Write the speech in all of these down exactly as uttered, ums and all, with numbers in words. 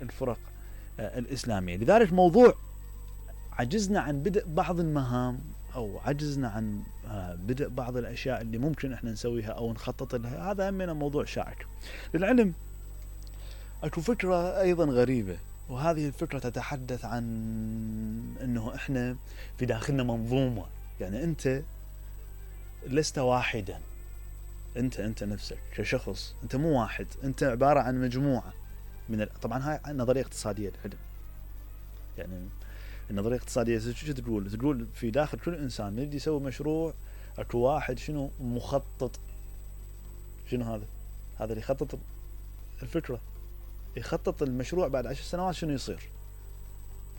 الفرق الإسلامية. لذلك موضوع عجزنا عن بدء بعض المهام أو عجزنا عن بدء بعض الأشياء اللي ممكن إحنا نسويها أو نخطط لها، هذا همنا موضوع شائك. للعلم أكو فكرة أيضا غريبة، وهذه الفكرة تتحدث عن أنه إحنا في داخلنا منظومة. يعني أنت لست واحدا، أنت أنت نفسك كشخص أنت مو واحد، أنت عبارة عن مجموعة من ال... طبعا هاي نظرية اقتصادية العلم. يعني النظرية الاقتصادية شو تقول؟ تقول في داخل كل إنسان من يجي يسوي مشروع أكو واحد شنو مخطط. شنو هذا؟ هذا اللي يخطط الفكرة، يخطط المشروع بعد عشر سنوات شنو يصير.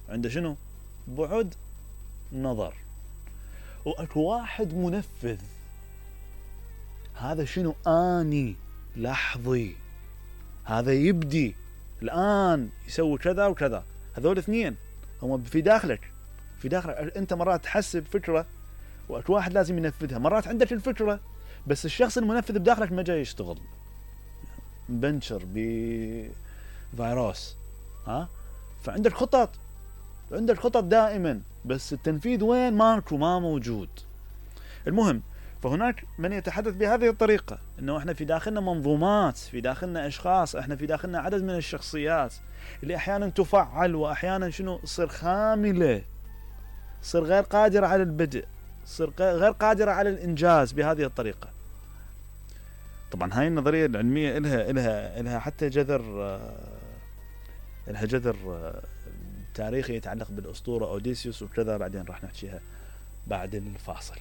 عنده شنو؟ بعد نظر. وأكو واحد منفذ، هذا شنو؟ آني لحظي، هذا يبدي الآن يسوي كذا وكذا. هذول اثنين هم في داخلك، في داخلك أنت مرات تحسب فكرة وأكو واحد لازم ينفذها. مرات عندك الفكرة بس الشخص المنفذ بداخلك ما جاي يشتغل، بنشر بفيروس، ها؟ فعندك خطط، عندك خطط دائما، بس التنفيذ وين؟ ماكو، ما موجود. المهم، فهناك من يتحدث بهذه الطريقة انه احنا في داخلنا منظومات، في داخلنا اشخاص، احنا في داخلنا عدد من الشخصيات اللي احيانا تفعل واحيانا شنو تصير خاملة، تصير غير قادرة على البدء، تصير غير قادرة على الانجاز بهذه الطريقة. طبعا هاي النظرية العلمية إلها إلها إلها حتى جذر، إلها جذر تاريخي يتعلق بالأسطورة أوديسيوس وكذا، بعدين راح نحكيها بعد الفاصل.